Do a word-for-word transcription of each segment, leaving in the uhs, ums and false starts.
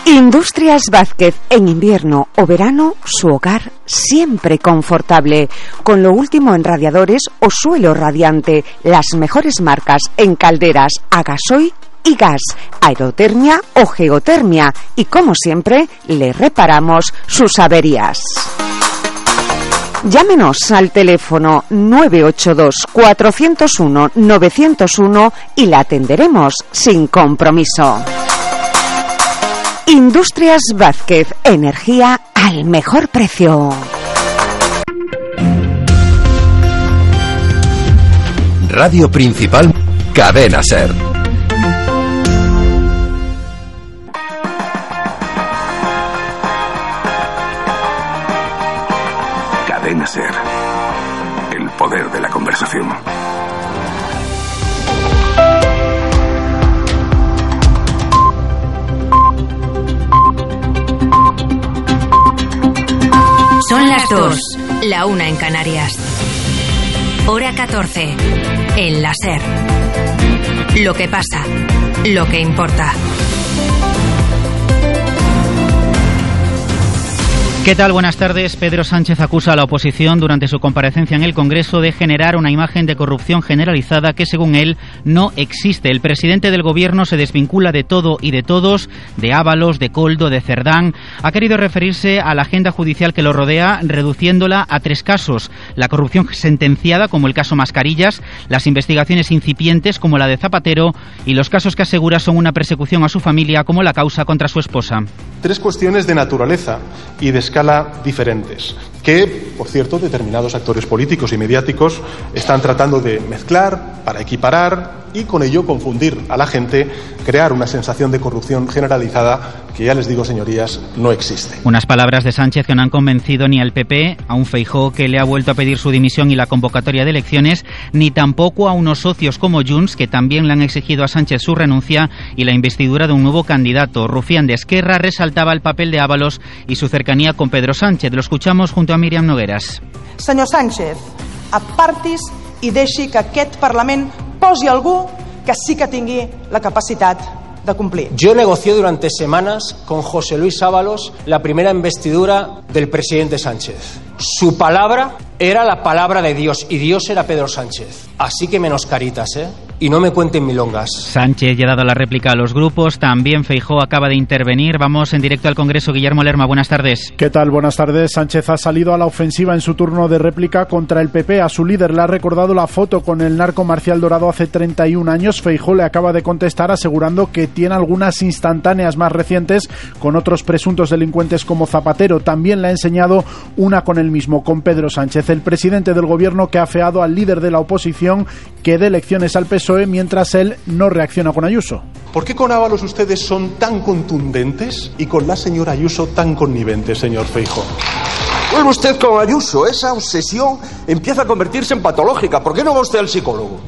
Industrias Vázquez, en invierno o verano, su hogar siempre confortable, con lo último en radiadores o suelo radiante, las mejores marcas en calderas a gasoil y gas, aerotermia o geotermia, y como siempre, le reparamos sus averías. Llámenos al teléfono nueve ocho dos, cuatro cero uno, nueve cero uno y la atenderemos sin compromiso. Industrias Vázquez, energía al mejor precio. Radio Principal, Cadena SER. Cadena SER. El poder de la conversación. Son las dos, la una en Canarias. Hora catorce, en la SER. Lo que pasa, lo que importa. ¿Qué tal? Buenas tardes. Pedro Sánchez acusa a la oposición durante su comparecencia en el Congreso de generar una imagen de corrupción generalizada que, según él, no existe. El presidente del Gobierno se desvincula de todo y de todos, de Ábalos, de Koldo, de Cerdán. Ha querido referirse a la agenda judicial que lo rodea, reduciéndola a tres casos: la corrupción sentenciada, como el caso Mascarillas, las investigaciones incipientes, como la de Zapatero, y los casos que asegura son una persecución a su familia, como la causa contra su esposa. Tres cuestiones de naturaleza y de escala diferentes, que, por cierto, determinados actores políticos y mediáticos están tratando de mezclar para equiparar y con ello confundir a la gente, crear una sensación de corrupción generalizada que, ya les digo, señorías, no existe. Unas palabras de Sánchez que no han convencido ni al P P, a un Feijóo que le ha vuelto a pedir su dimisión y la convocatoria de elecciones, ni tampoco a unos socios como Junts, que también le han exigido a Sánchez su renuncia y la investidura de un nuevo candidato. Rufián de Esquerra resaltaba el papel de Ábalos y su cercanía con Pedro Sánchez. Lo escuchamos junto a Míriam Nogueras. Senyor Sánchez, apartis i deixi que aquest Parlament posi algú que sí que tingui la capacitat de cumplir. Yo negocié durante semanas con José Luis Ábalos la primera investidura del presidente Sánchez. Su palabra era la palabra de Dios y Dios era Pedro Sánchez. Así que menos caritas, ¿eh? Y no me cuenten milongas. Sánchez ya ha dado la réplica a los grupos. También Feijóo acaba de intervenir. Vamos en directo al Congreso. Guillermo Lerma, buenas tardes. ¿Qué tal? Buenas tardes. Sánchez ha salido a la ofensiva en su turno de réplica contra el P P. A su líder le ha recordado la foto con el narco Marcial Dorado hace treinta y un años. Feijóo le acaba de contestar asegurando que tiene algunas instantáneas más recientes con otros presuntos delincuentes como Zapatero. También le ha enseñado una con él mismo, con Pedro Sánchez, el presidente del Gobierno, que ha afeado al líder de la oposición que dé lecciones al P S O E mientras él no reacciona con Ayuso. ¿Por qué con Ábalos ustedes son tan contundentes y con la señora Ayuso tan conniventes, señor Feijóo? Vuelve usted con Ayuso, esa obsesión empieza a convertirse en patológica. ¿Por qué no va usted al psicólogo?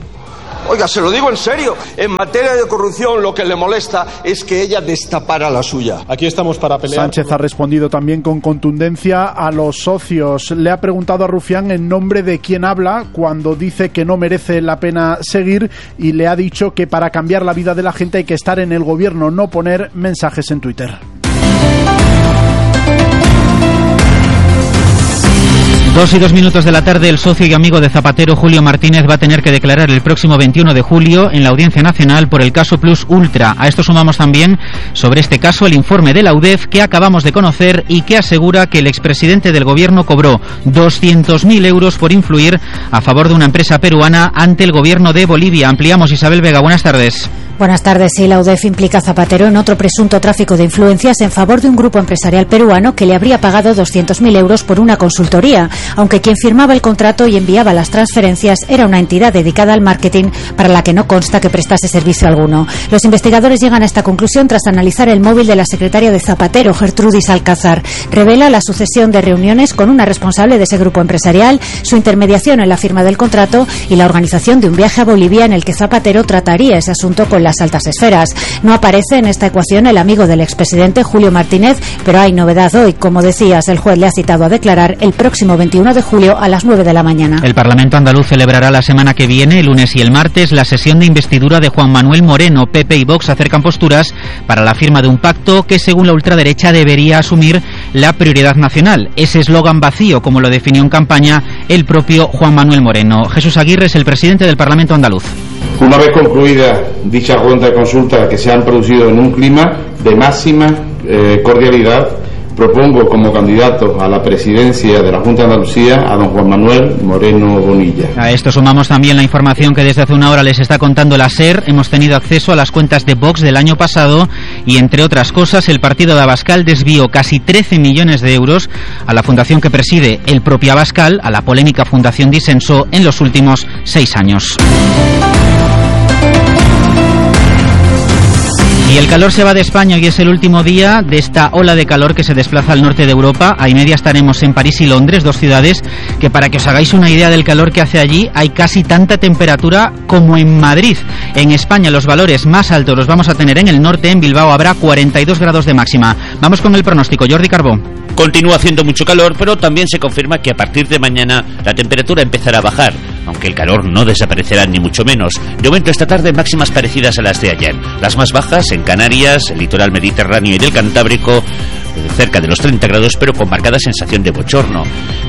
Oiga, se lo digo en serio, en materia de corrupción lo que le molesta es que ella destapara la suya. Aquí estamos para pelear. Sánchez ha respondido también con contundencia a los socios. Le ha preguntado a Rufián en nombre de quién habla cuando dice que no merece la pena seguir, y le ha dicho que para cambiar la vida de la gente hay que estar en el gobierno, no poner mensajes en Twitter. Dos y dos minutos de la tarde, el socio y amigo de Zapatero, Julio Martínez, va a tener que declarar el próximo veintiuno de julio en la Audiencia Nacional por el caso Plus Ultra. A esto sumamos también, sobre este caso, el informe de la U D E F que acabamos de conocer y que asegura que el expresidente del Gobierno cobró doscientos mil euros por influir a favor de una empresa peruana ante el Gobierno de Bolivia. Ampliamos. Isabel Vega, buenas tardes. Buenas tardes. Sí, la U D E F implica a Zapatero en otro presunto tráfico de influencias en favor de un grupo empresarial peruano que le habría pagado doscientos mil euros por una consultoría, aunque quien firmaba el contrato y enviaba las transferencias era una entidad dedicada al marketing para la que no consta que prestase servicio alguno. Los investigadores llegan a esta conclusión tras analizar el móvil de la secretaria de Zapatero, Gertrudis Alcázar. Revela la sucesión de reuniones con una responsable de ese grupo empresarial, su intermediación en la firma del contrato y la organización de un viaje a Bolivia en el que Zapatero trataría ese asunto con las altas esferas. No aparece en esta ecuación el amigo del expresidente, Julio Martínez, pero hay novedad hoy. Como decías, el juez le ha citado a declarar el próximo veintiuno veintiuno de julio a las nueve de la mañana. El Parlamento andaluz celebrará la semana que viene, el lunes y el martes, la sesión de investidura de Juan Manuel Moreno. P P y Vox acercan posturas para la firma de un pacto que, según la ultraderecha, debería asumir la prioridad nacional. Ese eslogan vacío, como lo definió en campaña el propio Juan Manuel Moreno. Jesús Aguirre es el presidente del Parlamento andaluz. Una vez concluida dicha ronda de consultas que se han producido en un clima de máxima eh, cordialidad, propongo como candidato a la presidencia de la Junta de Andalucía a don Juan Manuel Moreno Bonilla. A esto sumamos también la información que desde hace una hora les está contando la SER. Hemos tenido acceso a las cuentas de Vox del año pasado y, entre otras cosas, el partido de Abascal desvió casi trece millones de euros a la fundación que preside el propio Abascal, a la polémica Fundación Disenso, en los últimos seis años. Y el calor se va de España. Hoy es el último día de esta ola de calor que se desplaza al norte de Europa. A y media estaremos en París y Londres, dos ciudades que, para que os hagáis una idea del calor que hace allí, hay casi tanta temperatura como en Madrid. En España los valores más altos los vamos a tener en el norte. En Bilbao habrá cuarenta y dos grados de máxima. Vamos con el pronóstico. Jordi Carbó. Continúa haciendo mucho calor, pero también se confirma que a partir de mañana la temperatura empezará a bajar, aunque el calor no desaparecerá ni mucho menos. De momento esta tarde máximas parecidas a las de ayer. Las más bajas en Canarias, el litoral mediterráneo y del Cantábrico, cerca de los treinta grados, pero con marcada sensación de bochorno.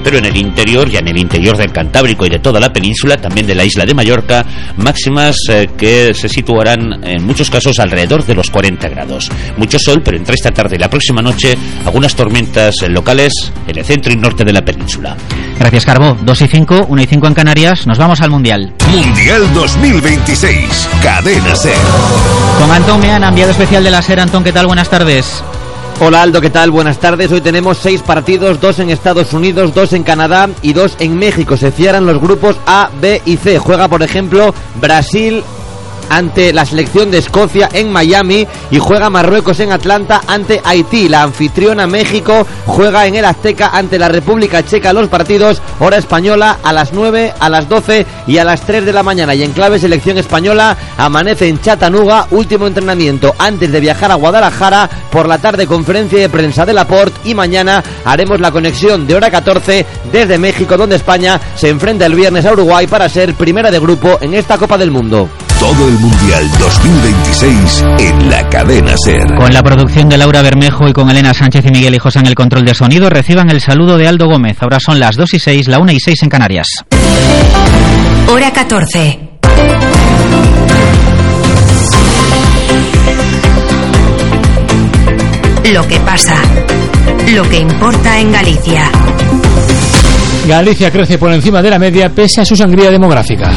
Pero en el interior, ya en el interior del Cantábrico y de toda la península, también de la isla de Mallorca, máximas eh, que se situarán en muchos casos alrededor de los cuarenta grados. Mucho sol, pero entre esta tarde y la próxima noche, algunas tormentas locales en el centro y norte de la península. Gracias, Carbó. dos y cinco, uno y cinco en Canarias. Nos vamos al Mundial. Mundial dos mil veintiséis. Cadena SER. Con Antón Meana, enviado especial de la SER. Antón, ¿qué tal? Buenas tardes. Hola Aldo, ¿qué tal? Buenas tardes. Hoy tenemos seis partidos, dos en Estados Unidos, dos en Canadá y dos en México. Se cierran los grupos A, B y C. Juega, por ejemplo, Brasil ante la selección de Escocia en Miami y juega Marruecos en Atlanta ante Haití. La anfitriona México juega en el Azteca ante la República Checa. Los partidos, hora española, a las nueve, a las doce y a las tres de la mañana. Y en clave selección española, amanece en Chattanooga, último entrenamiento antes de viajar a Guadalajara. Por la tarde, conferencia de prensa de Laporte, y mañana haremos la conexión de hora catorce desde México, donde España se enfrenta el viernes a Uruguay para ser primera de grupo en esta Copa del Mundo. Todo el Mundial dos mil veintiséis en la cadena SER. Con la producción de Laura Bermejo y con Elena Sánchez y Miguel Hijos en el control de sonido, reciban el saludo de Aldo Gómez. Ahora son las dos y seis, la una y seis en Canarias. Hora catorce. Lo que pasa, lo que importa en Galicia. Galicia crece por encima de la media pese a su sangría demográfica.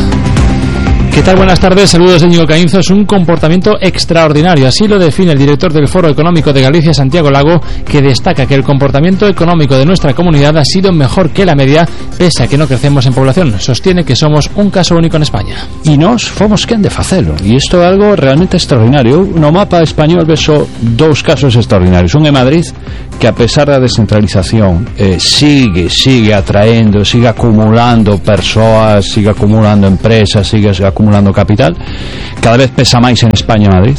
¿Qué tal? Buenas tardes, saludos de Íñigo Caínzo. Es un comportamiento extraordinario, así lo define el director del Foro Económico de Galicia, Santiago Lago, que destaca que el comportamiento económico de nuestra comunidad ha sido mejor que la media, pese a que no crecemos en población. Sostiene que somos un caso único en España. E nós fomos quen de facelo, e isto é algo realmente extraordinario. No mapa español vexo dous casos extraordinarios. Un é Madrid, que a pesar da descentralización eh, sigue, sigue atraendo, sigue acumulando persoas, sigue acumulando empresas, sigue acumulando capital, cada vez pesa máis en España Madrid.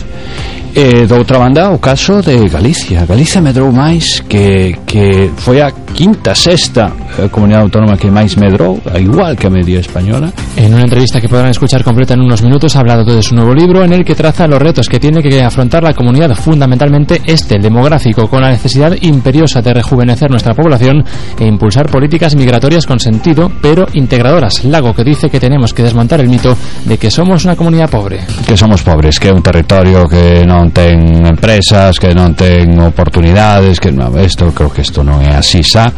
E, de outra banda, o caso de Galicia. Galicia medrou máis, que, que foi a quinta, sexta eh, comunidade autónoma que máis medrou, igual que a media española. En una entrevista que podrán escuchar completa en unos minutos, ha hablado de su nuevo libro, en el que traza los retos que tiene que afrontar la comunidad, fundamentalmente este, el demográfico, con la necesidad imperiosa de rejuvenecer nuestra población e impulsar políticas migratorias con sentido, pero integradoras. Lago, que dice que tenemos que desmontar el mito de que somos una comunidad pobre. Que somos pobres, que é un territorio que non ten empresas, que non ten oportunidades, que non, esto, creo que isto non é así xa.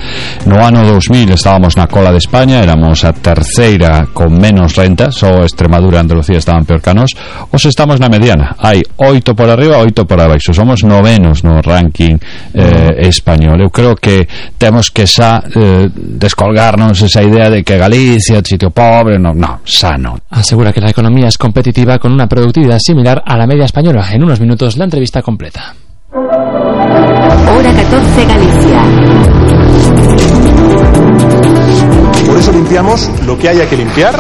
No ano dos mil estábamos na cola de España, éramos a terceira con menos renta, só Extremadura e Andalucía estaban peor que nós. Os estamos na mediana, hai oito por arriba, oito por abaixo, somos novenos no ranking eh, español. Eu creo que temos que xa eh, descolgarnos esa idea de que Galicia é un sitio pobre. No, no, xa non. Asegura que la economía es competitiva con una productividad similar a la media española. En unos minutos la entrevista completa. Hora catorce, Galicia. Por eso limpiamos lo que haya que limpiar,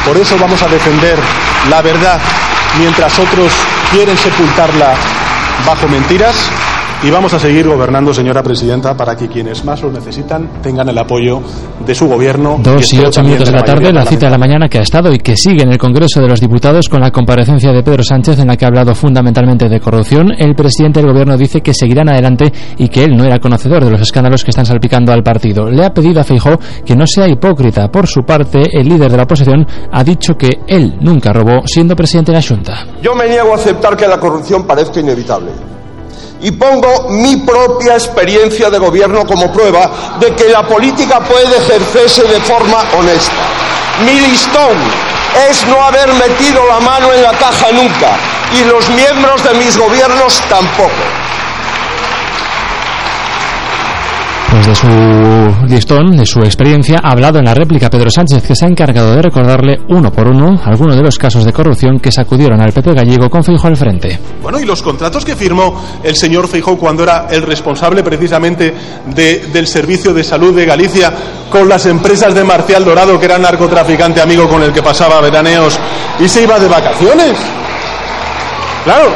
por eso vamos a defender la verdad mientras otros quieren sepultarla bajo mentiras, y vamos a seguir gobernando, señora presidenta, para que quienes más lo necesitan tengan el apoyo de su gobierno. Dos y ocho minutos de la tarde, la cita de la mañana que ha estado y que sigue en el Congreso de los Diputados con la comparecencia de Pedro Sánchez, en la que ha hablado fundamentalmente de corrupción. El presidente del gobierno dice que seguirán adelante y que él no era conocedor de los escándalos que están salpicando al partido. Le ha pedido a Feijóo que no sea hipócrita. Por su parte, el líder de la oposición ha dicho que él nunca robó siendo presidente de la Xunta. Yo me niego a aceptar que la corrupción parezca inevitable. Y pongo mi propia experiencia de gobierno como prueba de que la política puede ejercerse de forma honesta. Mi listón es no haber metido la mano en la caja nunca, y los miembros de mis gobiernos tampoco. Pues de su listón, de su experiencia, ha hablado en la réplica Pedro Sánchez, que se ha encargado de recordarle uno por uno algunos de los casos de corrupción que sacudieron al P P gallego con Feijóo al frente. Bueno, y los contratos que firmó el señor Feijóo cuando era el responsable precisamente de, del Servicio de Salud de Galicia con las empresas de Marcial Dorado, que era narcotraficante amigo con el que pasaba veraneos y se iba de vacaciones. Claro.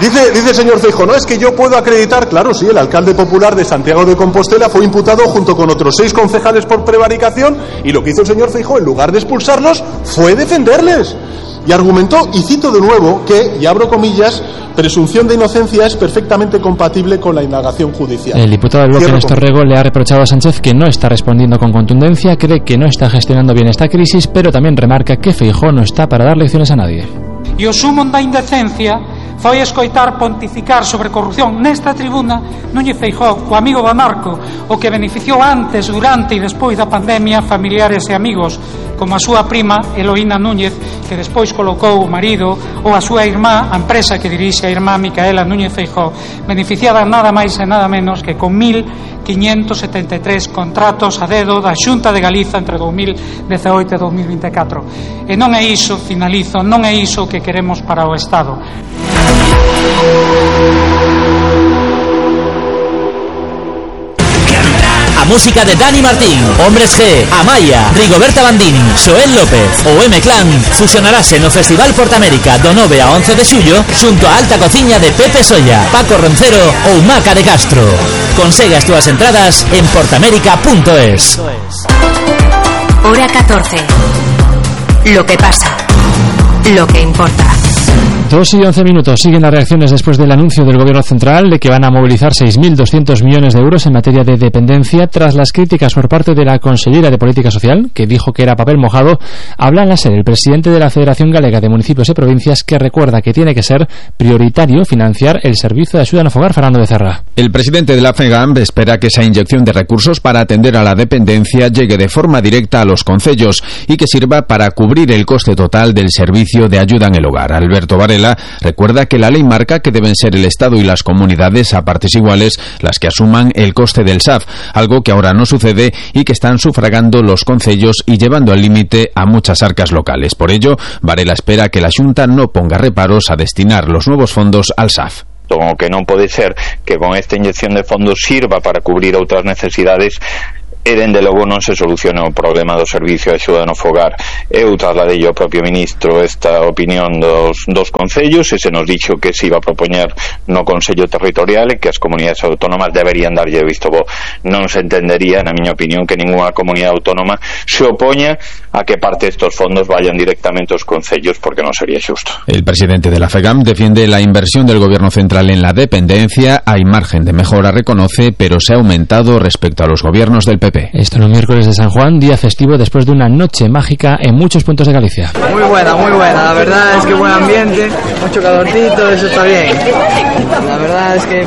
Dice, dice el señor Feijóo, no, es que yo puedo acreditar, claro, sí, el alcalde popular de Santiago de Compostela fue imputado junto con otros seis concejales por prevaricación, y lo que hizo el señor Feijóo, en lugar de expulsarlos, fue defenderles. Y argumentó, y cito de nuevo, que, y abro comillas, presunción de inocencia es perfectamente compatible con la indagación judicial. El diputado del bloque, Néstor Rego, le ha reprochado a Sánchez que no está respondiendo con contundencia, cree que no está gestionando bien esta crisis, pero también remarca que Feijóo no está para dar lecciones a nadie. E o sumo da indecencia foi escoitar pontificar sobre corrupción nesta tribuna Núñez Feijóo, o amigo do narco, o que beneficiou antes, durante e despois da pandemia familiares e amigos, como a súa prima Eloína Núñez, que despois colocou o marido, ou a súa irmá, a empresa que dirixe a irmá Micaela Núñez Feijóo, beneficiada nada máis e nada menos que con mil quinhentos setenta e tres contratos a dedo da Xunta de Galiza entre dous mil dezaoito e dous mil vinte e catro. E non é iso, finalizo, non é iso que queremos para o Estado. A música de Dani Martín, Hombres G, Amaya, Rigoberta Bandini, Xoel López ou M-Clan fusionarase no Festival Portamérica do nove a once de xullo xunto a alta cociña de Pepe Solla, Paco Roncero ou Maca de Castro. Consegue as túas entradas en portamérica punto es. Hora catorce. Lo que pasa, lo que importa. Dos y once minutos. Siguen las reacciones después del anuncio del Gobierno Central de que van a movilizar seis mil doscientos millones de euros en materia de dependencia, tras las críticas por parte de la consellera de Política Social, que dijo que era papel mojado. Habla en la SER el presidente de la Federación Galega de Municipios y Provincias, que recuerda que tiene que ser prioritario financiar el servicio de axuda no fogar. Fernando Becerra. El presidente de la FEGAM espera que esa inyección de recursos para atender a la dependencia llegue de forma directa a los concellos y que sirva para cubrir el coste total del servicio de ayuda en el hogar. Alberto Varela recuerda que la ley marca que deben ser el Estado y las comunidades a partes iguales las que asuman el coste del S A F, algo que ahora no sucede y que están sufragando los concellos y llevando al límite a muchas arcas locales. Por ello, Varela espera que la Xunta no ponga reparos a destinar los nuevos fondos al S A F. O que non pode ser que con esta inyección de fondos sirva para cubrir outras necesidades e dende logo non se soluciona o problema do servicio de axuda no fogar. Eu trasladei ao propio ministro esta opinión dos, dos concellos e se nos dixo que se iba a propoñer no Consello Territorial e que as comunidades autónomas deberían darlle visto bo. Non se entendería, na miña opinión, que ninguna comunidade autónoma se opoña a que parte destos fondos vayan directamente aos concellos, porque non sería xusto. El presidente de la FEGAM defiende la inversión del Gobierno Central en la dependencia. Hay margen de mejora, reconoce, pero se ha aumentado respecto a los gobiernos del P P. Esto en el miércoles de San Juan, día festivo después de una noche mágica en muchos puntos de Galicia. Muy buena, muy buena. La verdad es que buen ambiente, mucho calorcito, eso está bien. La verdad es que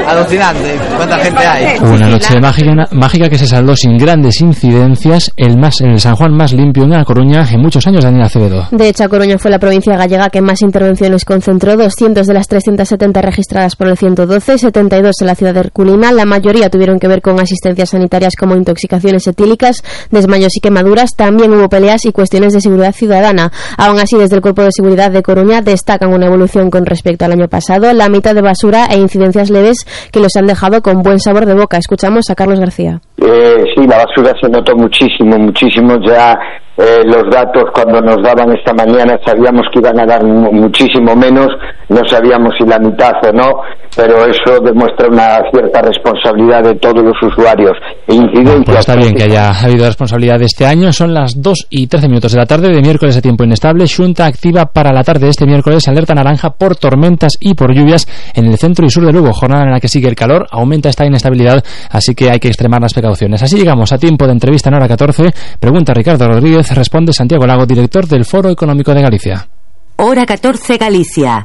alucinante. ¿Cuánta gente hay? Una noche mágica, una, mágica que se saldó sin grandes incidencias. El más, el San Juan más limpio en La Coruña en muchos años, Daniel Acevedo. De hecho, A Coruña fue la provincia gallega que más intervenciones concentró. doscientos de las trescientas setenta registradas por el ciento doce, setenta y dos en la ciudad de Herculina. La mayoría tuvieron que ver con asistencias sanitarias como intoxicaciones etílicas, desmayos y quemaduras. También hubo peleas y cuestiones de seguridad ciudadana. Aún así, desde el Cuerpo de Seguridad de Coruña destacan una evolución con respecto al año pasado, la mitad de basura e incidencias leves que los han dejado con buen sabor de boca. Escuchamos a Carlos García. Eh, sí, la basura se notó muchísimo, muchísimo ya. eh, los datos cuando nos daban esta mañana sabíamos que iban a dar muchísimo menos, no sabíamos si la mitad o no, pero eso demuestra una cierta responsabilidad de todos los usuarios. E incidencias. Pues está bien que haya habido responsabilidad este año. Son las dos y trece minutos de la tarde de miércoles de tiempo inestable. Xunta activa para la tarde de este miércoles alerta naranja por tormentas y por lluvias en el centro y sur de Lugo. Jornada en la que sigue el calor, aumenta esta inestabilidad, así que hay que extremar las precauciones. Así llegamos a tiempo de entrevista en Hora catorce. Pregunta Ricardo Rodríguez, responde Santiago Lago, director del Foro Económico de Galicia. Hora catorce Galicia.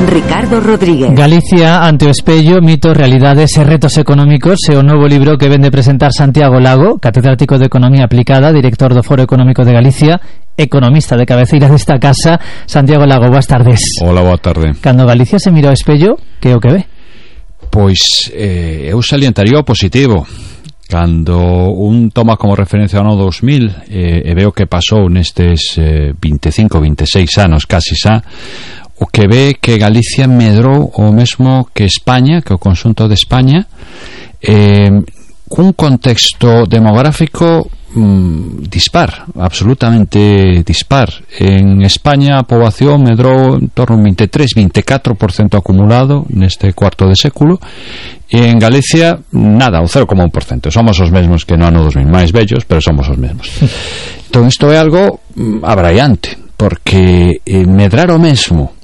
Ricardo Rodríguez. Galicia ante o espello, mitos, realidades e retos económicos é o novo libro que vende presentar Santiago Lago, catedrático de Economía Aplicada, director do Foro Económico de Galicia, economista de cabeceira desta casa. Santiago Lago, boas tardes. Hola, boa tarde. Cando Galicia se mira ao espello, que é o que ve? Pois eh, eu salientaría o positivo. Cando un toma como referencia o ano dos mil eh, e veo que pasou nestes eh, veinticinco, veintiséis anos casi xa, o que ve que Galicia medrou o mesmo que España, que o conxunto de España, eh, cun contexto demográfico mm, dispar, absolutamente dispar. En España a poboación medrou en torno a un veintitrés, veinticuatro por ciento acumulado neste cuarto de século, e en Galicia nada, o cero coma un por ciento. Somos os mesmos que no ano dos mil, máis vellos, pero somos os mesmos. Entón isto é algo mm, abraiante, porque eh, medrar o mesmo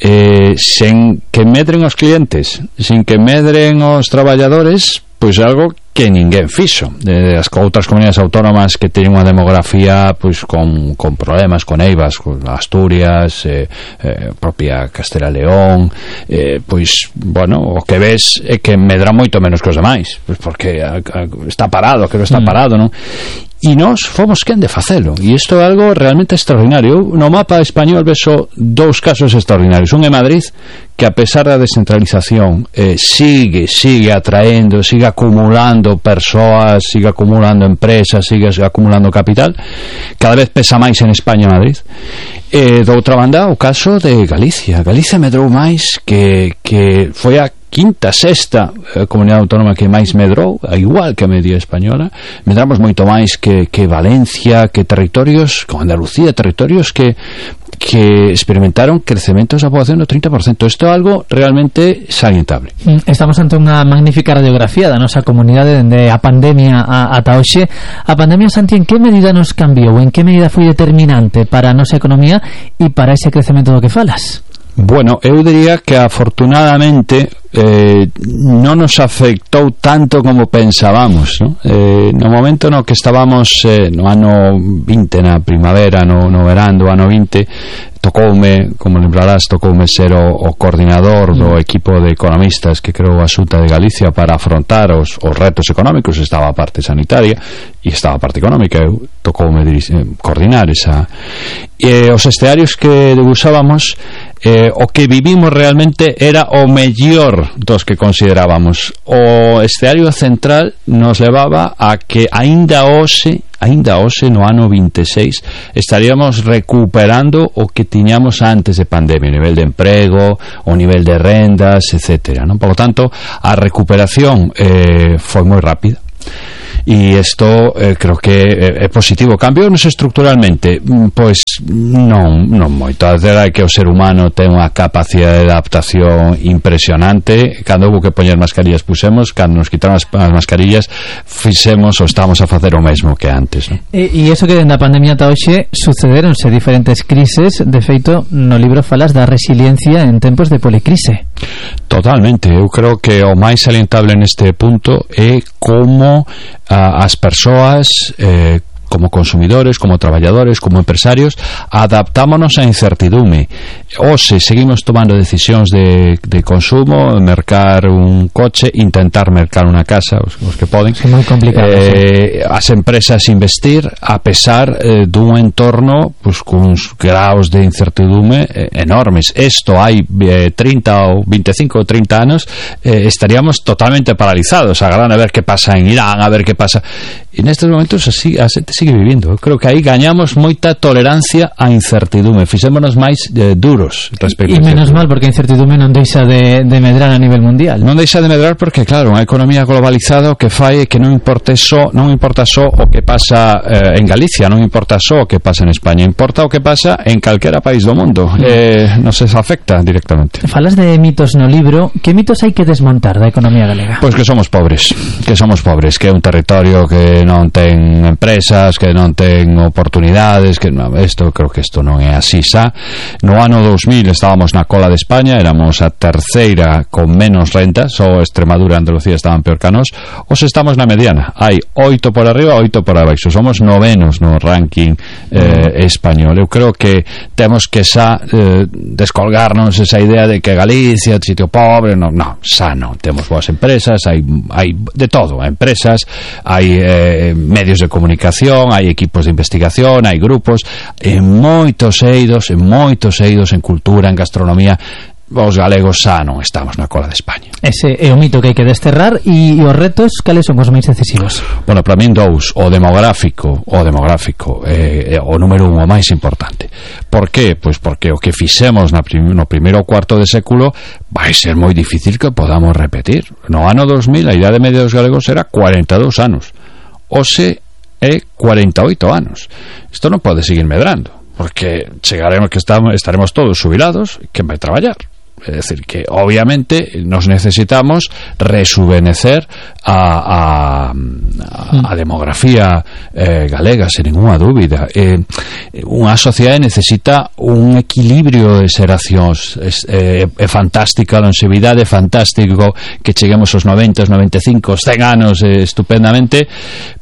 eh, sen que medren os clientes, sin que medren os traballadores, pois algo que ninguén fixo. De as outras comunidades autónomas que teñen unha demografía pois con, con problemas, con eivas, con Asturias, eh, eh, propia Castela León, eh, pois, bueno, o que ves é que medra moito menos que os demais, pois porque a, a, está parado, que non está parado, non? E nós fomos quen de facelo, e isto é algo realmente extraordinario. No mapa español vexo dous casos extraordinarios. Un é Madrid, que a pesar da descentralización eh, sigue, sigue atraendo, sigue acumulando persoas, sigue acumulando empresas, sigue acumulando capital. Cada vez pesa máis en España Madrid. E, doutra banda, o caso de Galicia. Galicia medrou máis que, que foi a quinta, sexta eh, comunidade autónoma que máis medrou, igual que a media española. Medramos moito máis que, que Valencia, que territorios como Andalucía, territorios que que experimentaron crecementos da poboación do trinta por ciento. Isto é algo realmente salientable. Estamos ante unha magnífica radiografía da nosa comunidade dende a pandemia a, ata hoxe. A pandemia, Santi, en que medida nos cambiou? En que medida foi determinante para a nosa economía e para ese crecemento do que falas? Bueno, eu diría que afortunadamente eh, non nos afectou tanto como pensábamos, ¿no? Eh, no momento no que estábamos eh, no ano vinte, na primavera, no, no verán do ano vinte, tocoume, como lembrarás, tocoume ser o, o coordinador do equipo de economistas que creou a Xunta de Galicia para afrontar os, os retos económicos. Estaba a parte sanitaria e estaba a parte económica. Eu tocoume dirixir, coordinar esa, e os escenarios que debuxábamos, eh, o que vivimos realmente era o mellor dos que considerábamos. O escenario central nos levaba a que aínda hoxe aínda hoxe no ano veintiséis estaríamos recuperando o que tiñamos antes de pandemia, o nivel de emprego, o nivel de rendas, etcétera, ¿no? Por lo tanto, a recuperación eh, foi moi rápida. E isto eh, creo que é, é positivo. Cambiounos estructuralmente? Pois non, non moito. A verdade é que o ser humano ten unha capacidade de adaptación impresionante. Cando houve que poñer mascarillas pusemos, cando nos quitaron as, as mascarillas fixemos ou estamos a facer o mesmo que antes, non? E, e iso que dende a pandemia ata hoxe sucederonse diferentes crises. De feito, no libro falas da resiliencia en tempos de policrise. Totalmente. Eu creo que o máis salientable neste punto é como a, as persoas eh, como consumidores, como traballadores, como empresarios, adaptámonos á incertidume. Hoxe seguimos tomando decisións de, de consumo, mercar un coche, intentar mercar unha casa, os, os que poden. É moi complicado. Eh, as empresas investir a pesar eh, dun entorno pues, cuns graus de incertidume eh, enormes. Isto hai eh, trinta ou veinticinco ou trinta anos eh, estaríamos totalmente paralizados, agardando a ver que pasa en Irán, a ver que pasa. E nestes momentos así a xente sigue vivindo. Eu creo que aí gañamos moita tolerancia á incertidume, fixémonos máis eh, duros seguros respecto e menos mal, porque a incertidumbre non deixa de, de medrar a nivel mundial. Non deixa de medrar porque, claro, unha economía globalizada que fai que non importa só, non importa só o que pasa eh, en Galicia, non importa só o que pasa en España, importa o que pasa en calquera país do mundo. Mm. Eh, non se afecta directamente. Falas de mitos no libro, que mitos hai que desmontar da economía galega? Pois que somos pobres, que somos pobres, que é un territorio que non ten empresas, que non ten oportunidades, que no, esto, creo que isto non é así xa. No ano dos mil estábamos na cola de España, éramos a terceira con menos rentas, só Extremadura e Andalucía estaban peor que nós. Os estamos na mediana, hai oito por arriba, oito por abaixo, somos novenos no ranking eh, español. Eu creo que temos que xa eh, descolgarnos esa idea de que Galicia é un sitio pobre. No, no, xa non, temos boas empresas, hai, hai de todo, hai empresas, hai eh, medios de comunicación, hai equipos de investigación, hai grupos, en moitos eidos, en moitos eidos, en cultura, en gastronomía. Os galegos xa non estamos na cola de España. Ese é o mito que hai que desterrar. E os retos, cales son os máis decisivos? Bueno, para min dous. O demográfico, o demográfico é eh, o número un, o máis importante. Por qué? Pois porque o que fixemos na prim no primeiro cuarto de século vai ser moi difícil que podamos repetir. No ano dos mil a idade media dos galegos era cuarenta e dous anos. Hoxe é cuarenta e oito anos. Isto non pode seguir medrando, porque chegaremos que estamos, estaremos todos jubilados. Quen vai traballar? É decir, que obviamente nos necesitamos rejuvenecer a, a, a, a demografía eh, galega, sen ninguna dúbida. Eh, unha sociedade necesita un equilibrio de xeracións. É, é fantástica a longevidade, é fantástico que cheguemos aos noventa, noventa e cinco, cen anos eh, estupendamente,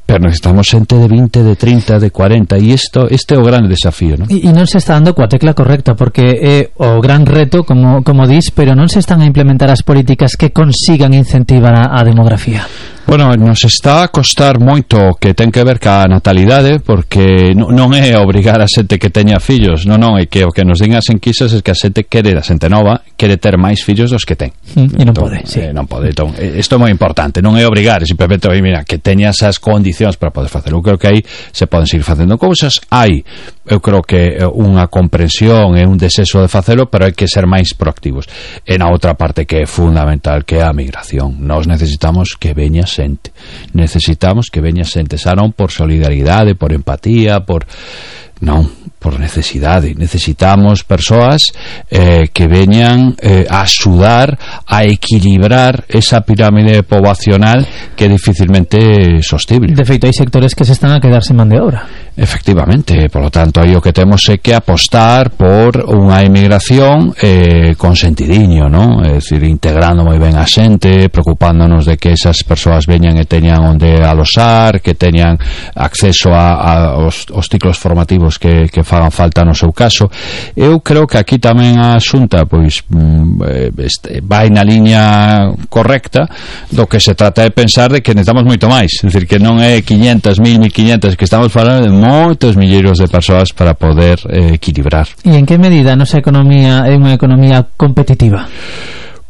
pero necesitamos xente de vinte, de trinta, de cuarenta, e isto, este é o grande desafío, non? E, e non se está dando coa tecla correcta, porque é o gran reto, como, como dis, pero non se están a implementar as políticas que consigan incentivar a, a demografía. Bueno, nos está a costar moito que ten que ver ca natalidade, porque non é obrigar a xente que teña fillos, non, non, é que o que nos din as enquisas é que a xente quere, a xente nova, quere ter máis fillos dos que ten. Mm, e non pode, sí. Eh, non pode, entón, isto é moi importante, non é obrigar, é simplemente, oi, mira, que teña esas condicións para poder facer. Eu creo que aí se poden seguir facendo cousas, hai, eu creo que unha comprensión e un desexo de facelo, pero hai que ser máis proactivos. E na outra parte que é fundamental, que é a migración. Nós necesitamos que veña xente, necesitamos que veña xente, xa non por solidaridade, por empatía, por non, por necesidade. Necesitamos persoas eh, que veñan eh, a axudar a equilibrar esa pirámide poboacional que é dificilmente sostible. De feito, hai sectores que se están a quedar sen man de obra. Efectivamente, por lo tanto, aí o que temos é que apostar por unha emigración eh, con sentidiño, non? É dicir, integrando moi ben a xente, preocupándonos de que esas persoas veñan e teñan onde alosar, que teñan acceso a, a os, os ciclos formativos que, que fagan falta no seu caso. Eu creo que aquí tamén a Xunta pois este, vai na liña correcta do que se trata de pensar de que necesitamos moito máis, é dicir, que non é quinhentas, mil, mil quinhentas, que estamos falando de moitos milleiros de persoas para poder eh, equilibrar. E en que medida a nosa economía é unha economía competitiva?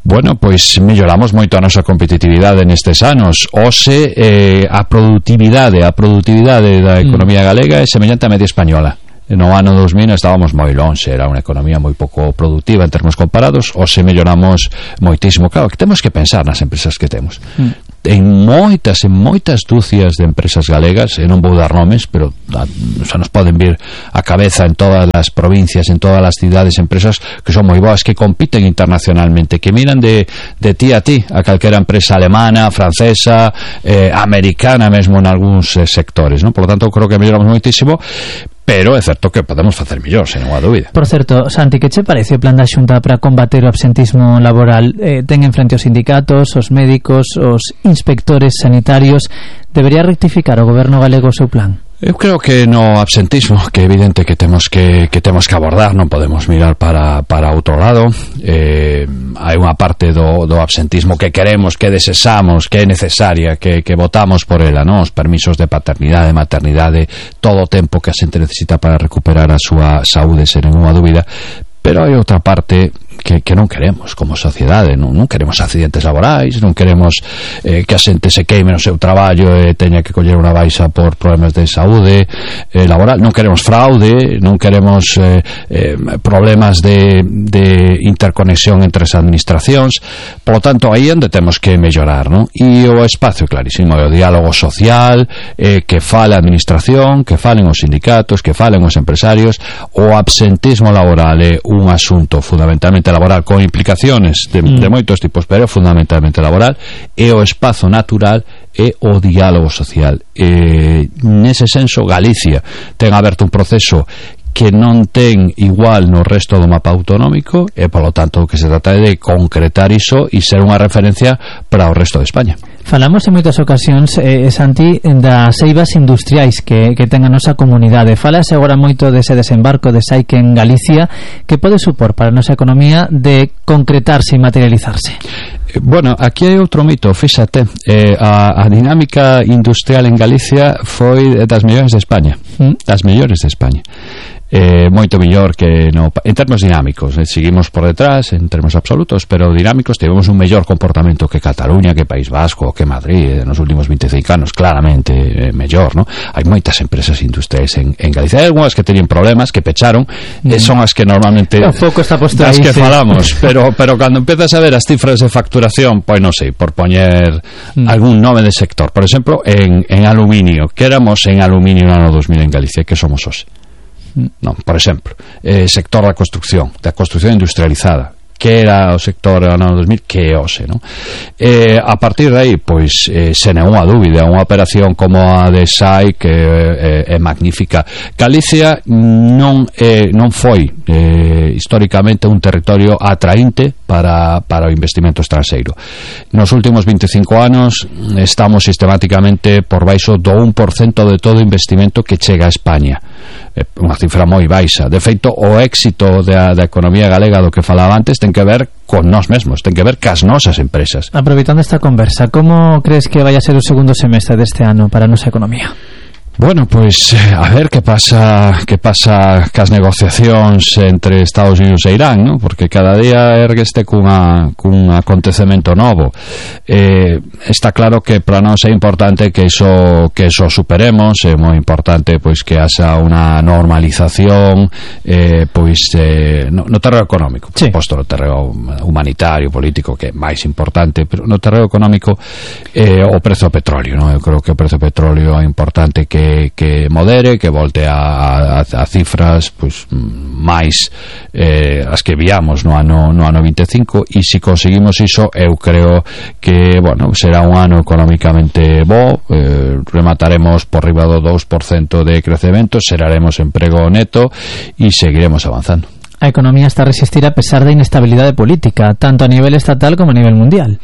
Bueno, pois melloramos moito a nosa competitividade nestes anos. Hoxe eh, a produtividade a produtividade da economía galega é semellante á media española. No ano dos mil estábamos moi lonxe, era unha economía moi pouco productiva en termos comparados. Hoxe melloramos moitísimo. Claro, que temos que pensar nas empresas que temos. Mm. En moitas, en moitas dúcias de empresas galegas, e non vou dar nomes, pero a, xa nos poden vir a cabeza en todas as provincias, en todas as cidades, empresas que son moi boas, que compiten internacionalmente, que miran de, de ti a ti a calquera empresa alemana, francesa, eh, americana mesmo en algúns eh, sectores, non? Por lo tanto, creo que melloramos moitísimo, pero é certo que podemos facer mellor, sen unha dúbida. Por certo, Santi, que che parece o plan da Xunta para combater o absentismo laboral? Eh, ten en frente os sindicatos, os médicos, os inspectores sanitarios. Debería rectificar o goberno galego o seu plan? Eu creo que no absentismo, que é evidente que temos que, que temos que abordar, non podemos mirar para, para outro lado. Eh, hai unha parte do, do absentismo que queremos, que desexamos, que é necesaria, que, que votamos por ela, non? Os permisos de paternidade, maternidade, todo o tempo que a xente necesita para recuperar a súa saúde, sen ninguna dúbida. Pero hai outra parte que, que non queremos como sociedade, non, non queremos accidentes laborais, non queremos eh, que a xente se queime no seu traballo e teña que coller unha baixa por problemas de saúde eh, laboral, non queremos fraude, non queremos eh, eh, problemas de, de interconexión entre as administracións. Por lo tanto, aí onde temos que mellorar, non? E o espacio clarísimo é o diálogo social, eh, que fale a administración, que falen os sindicatos, que falen os empresarios. O absentismo laboral é un asunto fundamentalmente laboral con implicaciones de, mm. de moitos tipos, pero fundamentalmente laboral, e o espazo natural é o diálogo social. E, nese senso, Galicia ten aberto un proceso que non ten igual no resto do mapa autonómico e, polo tanto, o que se trata é de concretar iso e ser unha referencia para o resto de España. Falamos en moitas ocasións, eh, Santi, das eivas industriais que, que ten a nosa comunidade. Falase agora moito dese desembarco de Saic en Galicia, que pode supor para a nosa economía de concretarse e materializarse. Bueno, aquí hai outro mito, fíxate, eh, a, a dinámica industrial en Galicia foi das mellores de España, mm. das mellores de España. Eh, moito mellor que no, en termos dinámicos, eh, seguimos por detrás en termos absolutos, pero dinámicos tivemos un mellor comportamento que Cataluña, que País Vasco, que Madrid eh, nos últimos vinte e cinco anos, claramente eh, mellor, ¿no? Hai moitas empresas industriais en, en Galicia, hai algunhas que teñen problemas, que pecharon, mm. eh, son as que normalmente o foco está posto das aí, que sí. falamos, pero, pero cando empezas a ver as cifras de facturación, pois non sei, por poñer mm. algún nome de sector, por exemplo, en, en aluminio, que éramos en aluminio no ano dos mil en Galicia, que somos hoxe. Non, por exemplo, eh, sector da construcción, da construcción industrializada, que era o sector no ano dos mil, que é hoxe, non? Eh, a partir de aí, pois, eh, sen nenhuma dúbida, unha operación como a de Saic que é, é, é magnífica. Galicia non eh, non foi eh, históricamente un territorio atraínte para, para o investimento estranxeiro. Nos últimos vinte e cinco anos estamos sistemáticamente por baixo do un por cento de todo o investimento que chega a España. É unha cifra moi baixa. De feito, o éxito da, da economía galega do que falaba antes ten que ver con nós mesmos, ten que ver cas nosas empresas. Aproveitando esta conversa, como crees que vai a ser o segundo semestre deste ano para a nosa economía? Bueno, pois a ver que pasa que pasa cas negociacións entre Estados Unidos e Irán, ¿no? Porque cada día ergueste cunha, cun acontecemento novo. Eh, está claro que para nós é importante que iso que iso superemos, é moi importante pois que haxa unha normalización eh, pois eh, no, no terreno económico, sí. Posto no terreno humanitario, político, que é máis importante, pero no terreno económico eh, o prezo do petróleo, ¿no? Eu creo que o prezo do petróleo é importante que que modere, que volte a, a, a cifras pois máis eh, as que viamos no ano, no ano vinte e cinco, e se conseguimos iso, eu creo que, bueno, será un ano económicamente bo, eh, remataremos por riba do dous por cento de crecemento, xeraremos emprego neto e seguiremos avanzando. A economía está a resistir a pesar da inestabilidade política, tanto a nivel estatal como a nivel mundial.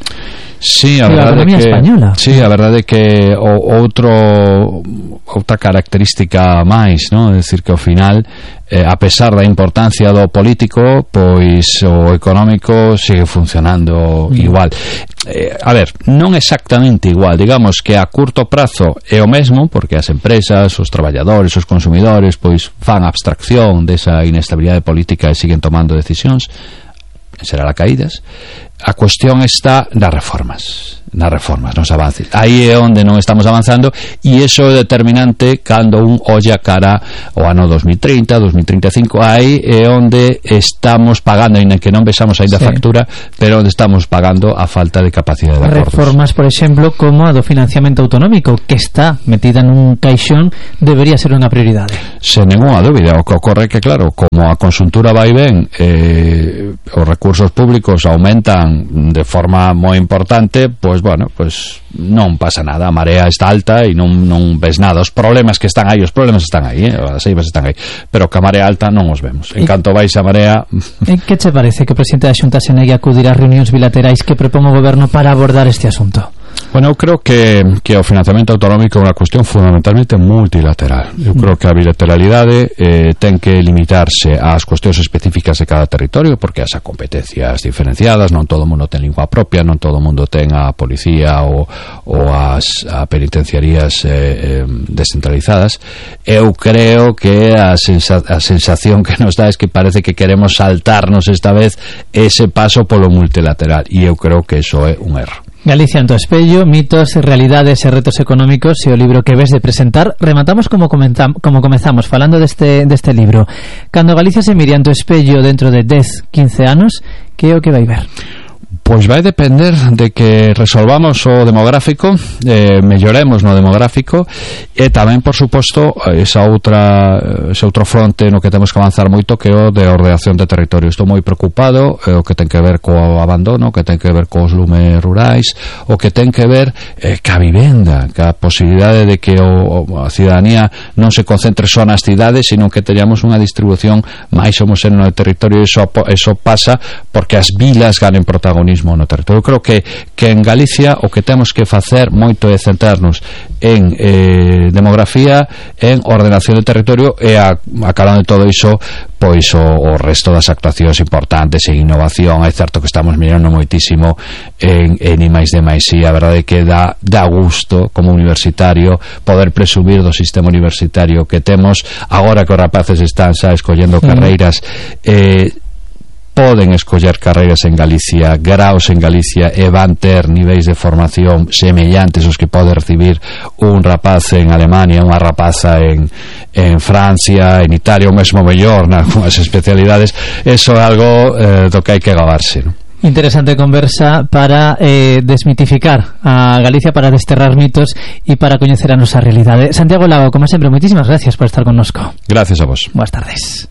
Sí, a verdade que española. Sí, a verdade que o, outro outra característica máis, ¿no? É dicir que ao final eh, a pesar da importancia do político, pois o económico sigue funcionando mm. igual. Eh, a ver, non exactamente igual, digamos que a curto prazo é o mesmo, porque as empresas, os traballadores, os consumidores, pois fan abstracción desa inestabilidade política e siguen tomando decisións, será la caídas. A cuestión está nas reformas, nas reformas, nos avances. Aí é onde non estamos avanzando, e iso é determinante cando un olla cara ao ano dos mil trinta, dos mil trinta e cinco. Aí é onde estamos pagando, ainda que non vexamos ainda sí. factura, pero onde estamos pagando a falta de capacidade de acordos. Reformas, por exemplo, como a do financiamento autonómico, que está metida nun caixón, debería ser unha prioridade. Sen ninguna dúbida. O que ocorre que, claro, como a conxuntura vai ben, eh, os recursos públicos aumentan de forma moi importante, pois bueno, pois non pasa nada, a marea está alta e non, non ves nada, os problemas que están aí, os problemas están aí, eh? As eivas están aí, pero que a marea alta non os vemos. En canto vais a marea... E que che parece que o presidente da Xunta se negue a acudir ás reunións bilaterais que propón o goberno para abordar este asunto? Bueno, eu creo que, que o financiamento autonómico é unha cuestión fundamentalmente multilateral. Eu creo que a bilateralidade eh, ten que limitarse ás cuestións específicas de cada territorio, porque as competencias diferenciadas, non todo o mundo ten lingua propia, non todo o mundo ten a policía ou, ou as a penitenciarías eh, eh, descentralizadas. Eu creo que a, sensa, a sensación que nos dá é que parece que queremos saltarnos esta vez ese paso polo multilateral, e eu creo que iso é un erro. Galicia en tu espello, mitos, realidades e retos económicos e o libro que ves de presentar. Rematamos como comentam, como comezamos falando deste, deste libro. Cando Galicia se mire en tu espello dentro de dez, quince anos, que é o que vai ver? Pois vai depender de que resolvamos o demográfico, eh, melloremos no demográfico, e tamén, por suposto, esa outra ese outro fronte no que temos que avanzar moito, que é o de ordenación de territorio. Estou moi preocupado, eh, o que ten que ver co abandono, o que ten que ver cos lumes rurais, o que ten que ver eh, ca vivenda, ca posibilidade de que o, a ciudadanía non se concentre só nas cidades, sino que teñamos unha distribución máis homoxénea no territorio, e iso, iso pasa porque as vilas ganen protagonismo no territorio. Eu creo que, que en Galicia o que temos que facer moito é centrarnos en eh, demografía, en ordenación do territorio, e a, a calando de todo iso, pois o, o resto das actuacións importantes en innovación. É certo que estamos mirando moitísimo en, en I máis D máis I. A verdade é que dá, dá gusto como universitario poder presumir do sistema universitario que temos agora que os rapaces están xa escollendo carreiras. eh, poden escoller carreiras en Galicia, graos en Galicia, e van ter niveis de formación semellantes os que pode recibir un rapaz en Alemania, unha rapaza en, en Francia, en Italia, ou mesmo mellor nas especialidades. Eso é algo eh, do que hai que gabarse, non? Interesante conversa para eh, desmitificar a Galicia, para desterrar mitos e para coñecer a nosa realidade. Santiago Lago, como sempre, moitísimas gracias por estar connosco. Gracias a vos. Boas tardes.